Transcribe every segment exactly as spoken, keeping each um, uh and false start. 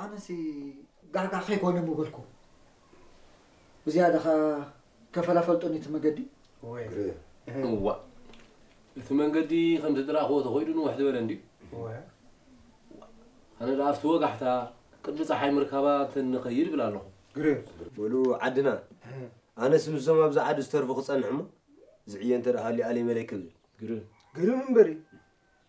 አነሲ ጋሕጋሕ ከይኮነ ሚ በልኩ። ብዝያደኻ ከፈላ ፈልጦኒ እቲ መገዲ። እወ። እቲ መንገዲ ከምቲ ድረኣኽዎ ተኸይዱ ንውሕ ዝበለ እንድዩ። እወ። ኣነ ደኣ ኣብቲ ወጋሕታ ቅድሚ ጸሓይ ምርካባ እንተ ንኸይድ እብል ኣለኹ። ግርም። በሉ ዓድና፣ ኣነስ ምስዞም ኣብዚ ዓዲ ዝተርፉ ክጸንሕ እሞ፣ ዝዕየ እንተ ደኣ ሃልዩ ኣለይ መለይ ክብል። ግርም። ግርም እምበሪ።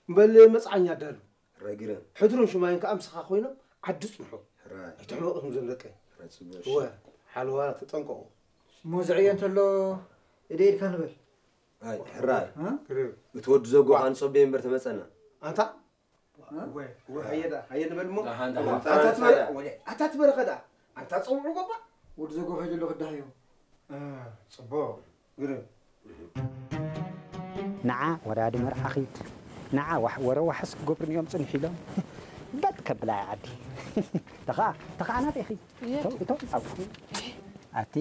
እምበል መጽዓኛ ኣዳሉ። ሕራይ ግረም። ሕድሩን ሽማይን ከኣ ምስኻ ኮይኖም ዓዲ ጽንሑ። ሕራይ። ኣይትሕመቑ እዞም ደቀይ። ሕራይ ጽቡቕ። እወ፣ ሓለዋ ተጠንቀቑ። እሞ ዝዕየ እንተሎ እደ ኢድካ ንበል። ኣይ፣ ሕራይ። እ? ግረም። እቲ ወዲ ዘጎ ዋ። ኣንጾቤ እምበር ተመጸና። ኣንታ? እ? እወ፣ እወ፣ ሃየ ደኣ፣ ሃየ ንበል እሞ። ደሓን፣ ደሓን። ኣታ ትበረ-፣ ኣታ ትበረኸ ደኣ። ኣንታ ጸውዑ ጎባ። ወዲ ዘጎ ከይዱ ኣሎ ክዳህዮ። እ፣ ጽቡቕ። ግርም። ነዓ ወራዲ መርዓ ኪድ፣ ነዓ ዋሕ-፣ ወረ ዋሕስ ክገብሩኒ እዮም ጽንሕ ኢሎም። በት ከብላ ዓዲ። ተኻ፣ ተኻ ኣናት ኢኺ። የት? እቶ፣ እቶ፣ ኣው። ኣቲ፣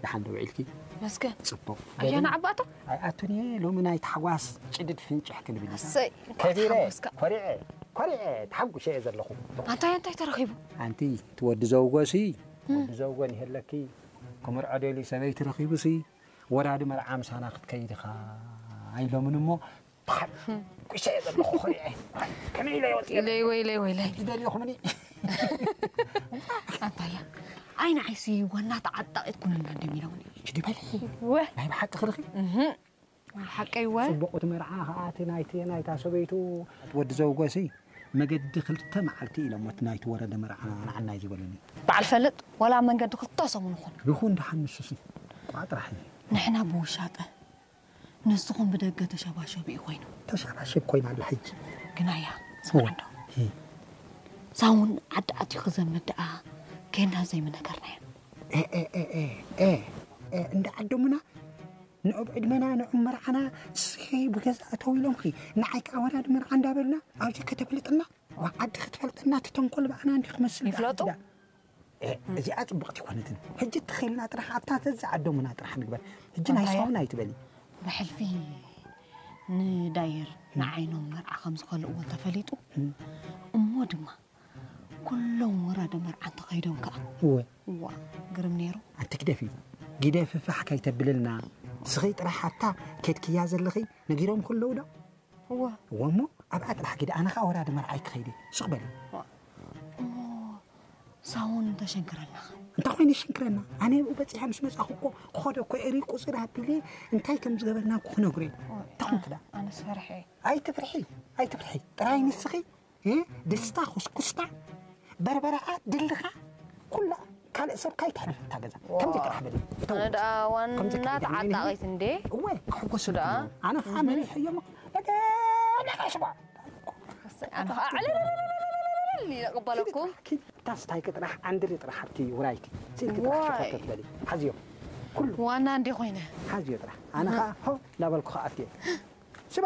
ደሓን ዶ ውዒልኪ? መስገን። ጽቡቕ። ኣያ ነዓባታ? ኣይ፣ ኣቱኒ ሎሚ ናይ ታሕጓስ ጭድድ ፍንጭሕ ክንብል ኢና። እሰይ፣ እንኳዕ ከቢረ፣ ተሓጎስካ። ኮሪዐ፣ ኮሪዐ፣ ተሓጉሸ እየ ዘለኹ። ኣንታይ፣ ኣንታይ ተረኺቡ? ኣንቲ፣ እቲ ወዲ ዘውጎሲ፣ እም። ወዲ ዘውጎ ንሄለኪ፣ ክምርዖ ደልዩ ሰበይቲ ረኺቡሲ፣ ወራዲ መርዓ ምሳና ክትከይድ ኢኻ ኢሎምኒ እሞ፣ ተሓ-፣ ቁሸ ዘለኹ ኾሪዐ። ከመይ ኢለ ይወጽእ? ኢለይ ወይለይ ወይለይ። ይደልዮኹምኒ። ኣንታያ፣ ኣይ ንዓይሲ ዋና ተዓጣቒት ኩነና እንዲም ኢሎምኒ። ሽዲ በሊ። ወ። ናይ ብሓቂ ክልኺ? እህ። ሓቀይ ወ። ጽቡቕ፣ እቲ መርዓ ኸኣ እቲ ናይቲ፣ ናይታ ሰበይቱ ወዲ ዘውጎሲ መገዲ ክልተ መዓልቲ ኢሎሞት ናይቲ ወረደ መርዓ ንዓናይ ዝበሉኒ። በዓል ፈልጥ፣ ወላ መንገዲ ክልተ ሰሙን ይኹን። ይኹን ደሓን ንሱሲ ቋጥራሕ እዩ። ንሕና ብውሻጠ፣ ንስኹም ብደገ ተሸባሸቢ ኮይኑ። ተሸባሸብ ኮይና ኣላ ሕጂ። ግናያ፣ ስምዕ እንዶ። ሂ። ሳውን ዓዲ ኣትዩ ክዘምድ ደኣ፣ ኬና ዘይምነገርናዮ። ኤ፣ ኤ፣ እንደ ዓዶምና ንዑብ ዕድመና፣ ንዑብ መርዓና፣ ስኺ ብገዛእ እተው ኢሎምኺ፣ ንዓይ ከኣ ወራዲ መርዓ እንዳበሉና፣ ኣብዚ ከተፍልጥና፣ ወዓዲ ክትፈልጥና፣ እቲ ተንኮል ብኣና እንዲ ክመስል ይፍለጡ? ደኣ። እ፣ እዚኣ ጽብቕቲ ኣይኮነትን። ሕጂ ተኸይልና ጥራሕ ኣብታ ተዘዓደሙና ጥራሕ ንግበር። ሕጂ ናይ ኣንታያ? ሳውን ኣይትበሊ። ብሕልፊ ንዳይር ንዓይኖም መርዓ ከም ዝኸልእዎ እንተፈሊጡ፣ እም። እሞ ድማ ኩሎም ወራደ መርዓ እንተኸይዶም ከኣ። እወ። እዋ፣ ግርም ነይሩ። ኣንቲ ግደፊ፣ ግደፊ ፋሕ ከይተብልልና። ስኺ ጥራሕ ኣታ ኬድክያ ዘለኺ ነጊሮም ኩለው ዶ? እወ። እወ እሞ ኣብኣ ጥራሕ ግደ፣ ኣነ ኸኣ ወራደ መርዓ ኣይክኸይድ እየ። ሱቕ በሊ። እዋ። እሞ ሳውን እንተሸንክረና? እንታይ ኮይኑ ይሽንክረና? ኣነ ብኡ በጺሐ ምስ መጻኹ እኮ ክኸዶ እኮ እየ፣ ቁጽር ኣቢለ እንታይ ከም ዝገበርና እኮ ክነግሮ እየ። እዋ፣ እንታይ ኮንክ ደኣ? ኣነስ ፈርሐ እየ። ኣይትፍርሒ፣ ኣይትፍርሒ። ጥራይ ንስኺ እ? ድስታ፣ ኩስኩስታ፣ በርበረኣ፣ ድልኻ፣ ኩላ ካልእ ሰብ ካይትሕብር እታ ገዛ። ዋው። ከምዚ ጥራሕ በሊ። እተው። ኣነ ደኣ ዋና ከምዚ ከይዳ፣ ተዓጣቒት እንዴ? እወ፣ ክሕጎሱ ደኣ? ደኣ። ኣነ ኸዓ እህ። መሪሐ እዮም። በቃ፣ በቃ፣ ሽባ። ኣነ ኸዓ ዕልልልልልልልል ኢለ እቕበለኩም። ኪድ፣ ኪድ፣ ታስታይኪ ጥራሕ፣ ዓንድሪ ጥራሕ ኣብቲ ውራይኪ። ስኢልኪ ጥራሕ ዋይ። ሸፈተት በሊ። ሓዝዮም። ኩሉ። ዋና እንዴ ኮይነ። ሓዝዮ ጥራሕ። ኣነ ኸዓ ሆ፣ ላበልኩ ኸዓ ኣትየ። ሽባ፣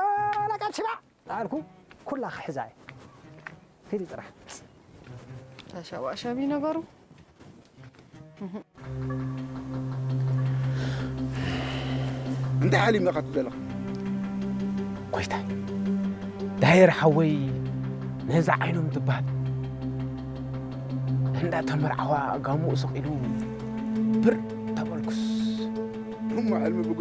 ለቃል ሽባ። ኣልኩ፣ ኩላ ክሕዛ እየ። ሂዲ ጥራሕ። ተሸባሸቢ ነገሩ። እንታይ ሓሊም ኢኻ ትብል ዘለኻ? ጎይታይ፣ ዳየር ሓወይ ነዛ ዓይኖም ትበሃል እንዳ ተመርዓዋ ጋሙኡ ሰቂሉ ብር ተበልኩስ። እሞ ሕልሚ